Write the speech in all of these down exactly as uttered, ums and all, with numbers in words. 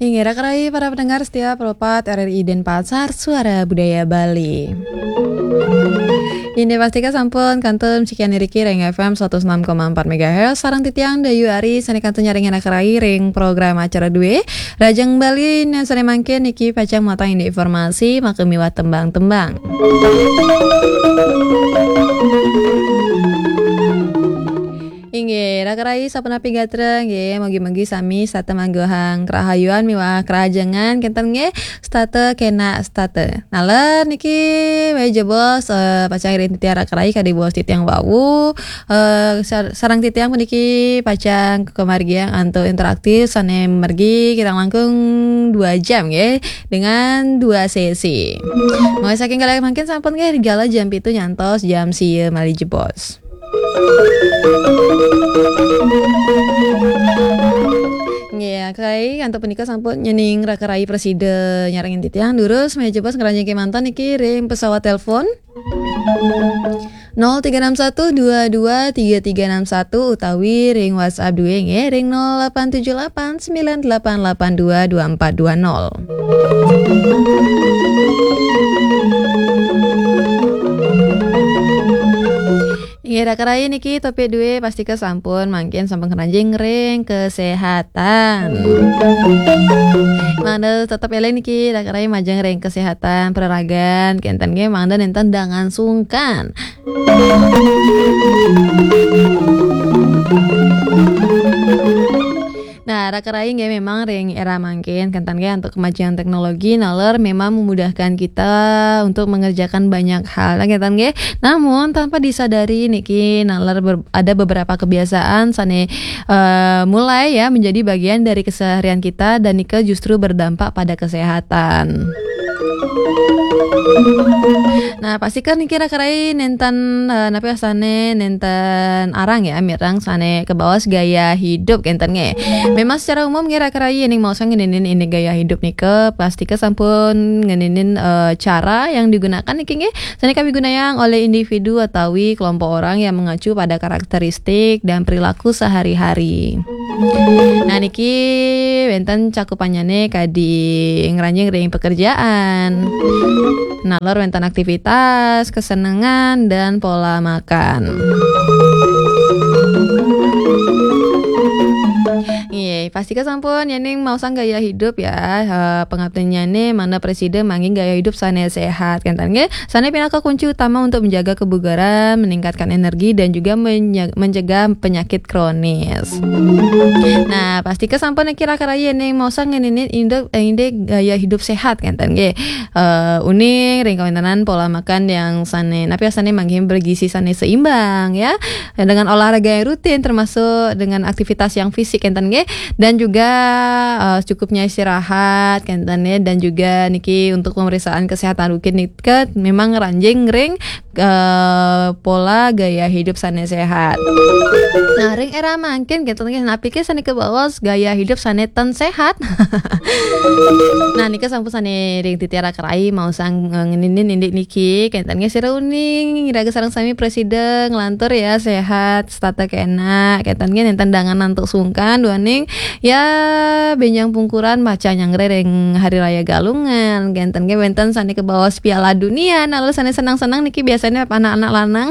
Inggih, raka rayi para pendengar setia Pro empat R R I Denpasar, Suara Budaya Bali. Inggih, pastika sampun kantun sikian iriki ring F M seratus enam koma empat megahertz, sareng titiang Dayu Ari sane kantun nyarengin raka rayi ring program acara due. Rajeng Bali, nah, sane mangkin niki pacang matang indik informasi, maka miwah tembang-tembang. Inggih, raka rayi sapunapi gatra, nggih, mugi-mugi sami setata mangguhang karahayuan miwah karahajengan, kenten nggih, setata kenak setata. Naler niki, wau jebos, eh, pacang iring titiang raka rayi kadi bos titiang wau, eh, sar-, sareng titiang puniki pacang kamargiang antuk interaktif sane mergi kirang langkung dua jam, nggih, dengan dua sesi. Mawis saking kalih mangkin sampun, nggih, rikala jam pitu nyantos jam sia malih jebos. Nggih, raka rayi, antuk punika sampun nyening raka rayi prasida nyarengin titiang, durus malih jebos ngranjing kemanten niki ring pesawat telepon. Nol tiga enam satu dua dua tiga tiga enam satu utawi ring WhatsApp due nggih ring nol delapan tujuh delapan sembilan delapan delapan dua dua empat dua nol. Inggih, raka rayi niki topik due pastika sampun mangkin sampun ngranjing ring kesehatan. Mangda tetep eling niki raka rayi majeng ring kesehatan peraragan, kenten nggih, mangda nenten dangan sungkan. Nah, raka rayi nggih memang ring era mangkin, kenten nggih, antuk kemajuan teknologi naler memang memudahkan kita untuk mengerjakan banyak hal, kenten nggih. Namun tanpa disadari niki naler ber-, ada beberapa kebiasaan sane, eh, mulai ya menjadi bagian dari keseharian kita dan nika justru berdampak pada kesehatan. Nah, pastika niki raka rayi nenten, eh, napi wastane nenten arang ya, mireng sane kabaos gaya hidup kenten nggih. Memang secara umum nggih raka rayi ning maosang ngeninin indik gaya hidup nika, pastika sampun ngeninin, eh, cara yang digunakan niki nggih, sane kapigunayang oleh individu atawi kelompok orang yang mengacu pada karakteristik dan perilaku sehari-hari. Nah, niki wenten cakupannyane kadi ngranjing ring pekerjaan. Nalor wenten aktivitas, kesenengan, dan pola makan. Nggih, pastika sampun yening maosang gaya hidup ya, eh, pangaptinnyane mangda prasida manggihin gaya hidup sane sehat, kenten nggih. Sane pinaka kunci utama untuk menjaga kebugaran, meningkatkan energi, dan juga menye-, mencegah penyakit kronis. Nah, pastika sampun niki raka rayi yening maosang ngeninin indik, eh, indik gaya hidup sehat, kenten nggih. Eh, uning ring kawentenan pola makan yang sane, napi sane manggihin bergizi sane seimbang ya. Dengan olahraga yang rutin termasuk dengan aktivitas yang fisik, kenten nggih. Dan juga, eh, cukupnya istirahat, kenten nggih. Dan juga niki untuk pemeriksaan kesehatan rutin nika memang ngranjing ring, eh, pola gaya hidup sane sehat. Nah, ring era mangkin kenten nggih, napi ke sane kabaos gaya hidup sane ten sehat? Nah, nika sampun sane ring titiang raka rayi maosang, eh, ngeninin indik niki, kenten nggih sira uning, iraga sareng sami prasida nglantur ya sehat, setata kenak, kenten nggih nenten dangan antuk sungkan duaning ya benjang pungkuran maca nyanggra ring Hari Raya Galungan, kenten nggih wenten sane kabaos Piala Dunia, naler sane senang-senang niki biasanya anak-anak lanang.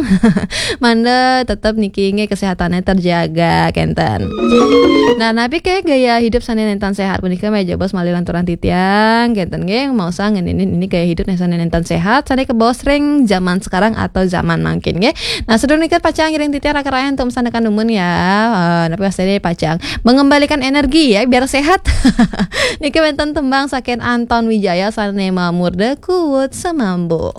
Mangda tetep niki nggih kesehatane terjaga, kenten. Nah, napi ke gaya hidup sane nenten sehat punika malih jebos malih lanturang titiang, kenten nggih, maosang ngeninin indik gaya hidup sane nenten sehat, sane kabaos ring zaman sekarang atau zaman mangkin nggih. Nah, sadurung nika pacang ngiring titiang raka rayi untuk masandekan dumun ya. Eh, napi wastane pacang mengembalikan energi ya, biar sehat. Niki wenten tembang saking Anton Wijaya sane mamurda Kuwut Semambu.